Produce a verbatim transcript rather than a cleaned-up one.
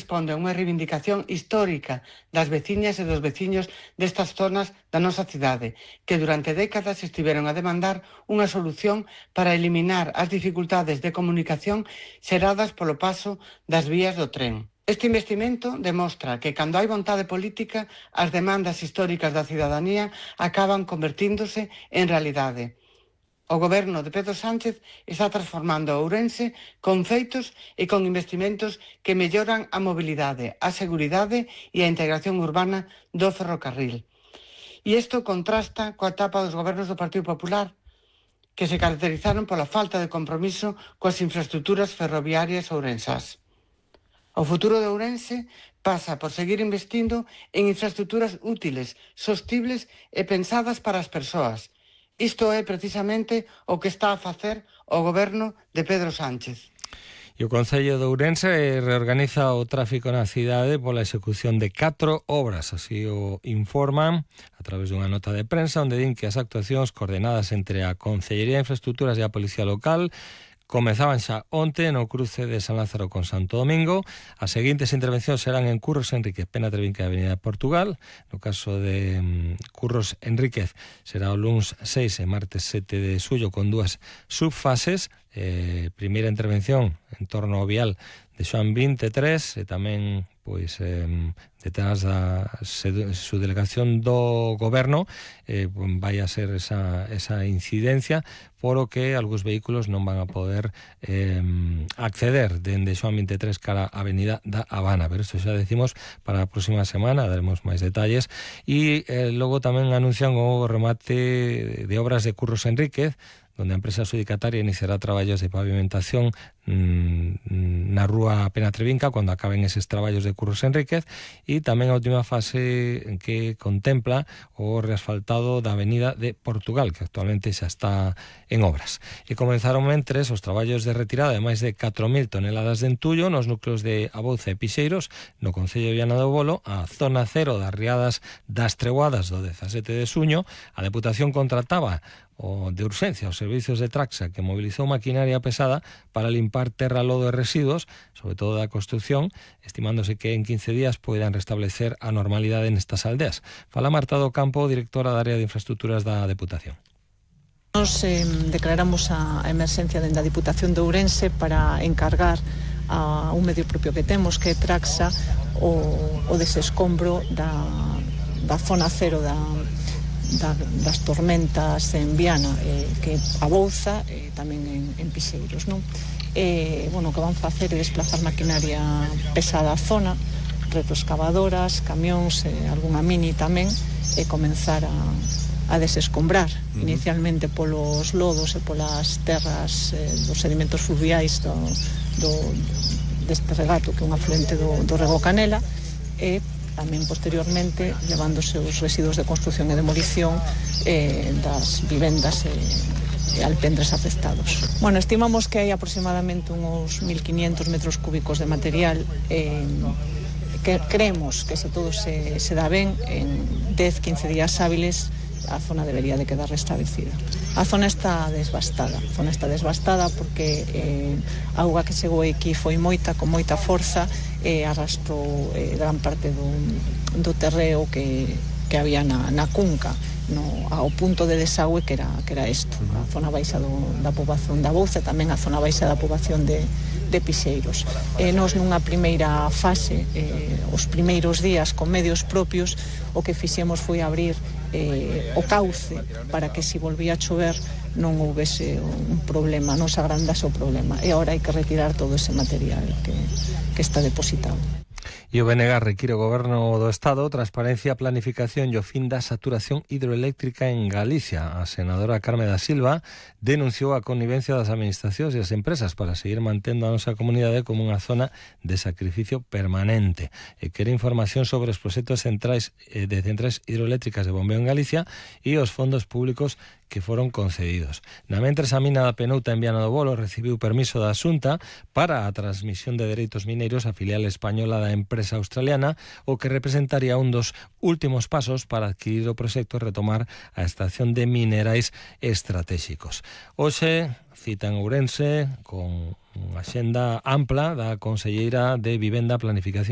responde a unha reivindicación histórica das veciñas e dos veciños destas zonas da nosa cidade, que durante décadas estiveron a demandar unha solución para eliminar as dificultades de comunicación xeradas polo paso das vías do tren. Este investimento demostra que cando hai vontade política, as demandas históricas da cidadanía acaban convertíndose en realidade. O goberno de Pedro Sánchez está transformando Ourense con feitos e con investimentos que melloran a mobilidade, a seguridade e a integración urbana do ferrocarril. E isto contrasta coa etapa dos gobernos do Partido Popular, que se caracterizaron pola falta de compromiso coas infraestructuras ferroviarias ourensás. O futuro de Ourense pasa por seguir investindo en infraestructuras útiles, sostibles e pensadas para as persoas. Isto é precisamente o que está a facer o goberno de Pedro Sánchez. E o Concello de Ourense reorganiza o tráfico na cidade pola execución de catro obras, así o informan a través dunha nota de prensa onde din que as actuacións coordenadas entre a Concellería de Infraestructuras e a Policía Local comezaban xa onte no cruce de San Lázaro con Santo Domingo. As seguintes intervencións serán en Curros Enríquez, Pena Trevinca e Avenida de Portugal. No caso de um, Curros Enríquez será o luns seis e martes sete de xullo con dúas subfases. Eh, primeira intervención en torno ao vial de Xoán veintitrés e tamén pois eh, detrás da subdelegación do goberno eh, vai a ser esa, esa incidencia por o que algúns vehículos non van a poder eh, acceder dende Xoán veintitrés cara a Avenida da Habana, pero isto xa decimos para a próxima semana, daremos máis detalles. E eh, logo tamén anuncian o remate de obras de Curros Enríquez, onde a empresa adxudicataria iniciará traballos de pavimentación mmm, na rúa Pena Trevinca cando acaben eses traballos de Curros Enríquez, e tamén a última fase que contempla o reasfaltado da Avenida de Portugal, que actualmente xa está en obras. E comenzaron mentres os traballos de retirada de máis de catro mil toneladas de entullo nos núcleos de Abouza e Pixeiros, no Concello de Viana do Bolo, a zona cero das riadas das Treguadas do dezasete de xuño. A Deputación contrataba o de urxencia os servicios de Traxa, que mobilizou maquinaria pesada para limpar terra, lodo e residuos, sobre todo da construción, estimándose que en quince días poidan restablecer a normalidade nestas aldeas. Fala Marta do Campo, directora da área de infraestructuras da Deputación. Nos eh, declaramos a emerxencia dende a Diputación de Ourense para encargar a un medio propio que temos, que é Traxa, o, o desescombro da, da zona cero da Da, das tormentas en Viana, eh, que Abouza e eh, tamén en, en Pixeiros, non? Eh, bueno, o que van facer é desplazar maquinaria pesada á zona, retroexcavadoras, camións, eh, algunha mini tamén, e comenzar a, a desescombrar, uh-huh. inicialmente polos lodos e polas terras eh, dos sedimentos fluviais do, do, deste regato, que é un afluente do, do Rego Canela, e tamén posteriormente levándose os residuos de construción e demolición eh, das vivendas e, e alpendres afectados. Bueno, estimamos que hai aproximadamente uns mil quinientos metros cúbicos de material, eh, que creemos que se todo se, se dá ben, en dez a quince días hábiles a zona debería de quedar restablecida. A zona está desbastada, a zona está desbastada porque eh, a auga que chegou aquí foi moita, con moita forza, e eh, arrastrou eh, gran parte do, do terreo que, que había na, na cunca, no, ao punto de desagüe que era, que era isto, a zona baixa do, da poboación da Abouza, tamén a zona baixa da poboación de, de Pixeiros. E nos nunha primeira fase, eh, os primeiros días con medios propios, o que fixemos foi abrir eh, o cauce para que se volvía a chover non houvese un problema, non se agrandase o problema. E agora hai que retirar todo ese material que, que está depositado. E o B N G require o Goberno do Estado transparencia, planificación e o fin da saturación hidroeléctrica en Galicia. A senadora Carme da Silva denunciou a connivencia das administracións e as empresas para seguir mantendo a nosa comunidade como unha zona de sacrificio permanente. E quere información sobre os proxectos centrais de centrais hidroeléctricas de bombeo en Galicia e os fondos públicos que foron concedidos. Na mentres, a mina da Penouta en Viana do Bolo recibiu permiso da Xunta para a transmisión de dereitos mineiros á filial española da empresa australiana, o que representaría un dos últimos pasos para adquirir o proxecto e retomar a extracción de minerais estratégicos. Hoxe cita en Ourense con unha axenda ampla da conselleira de Vivenda, Planificación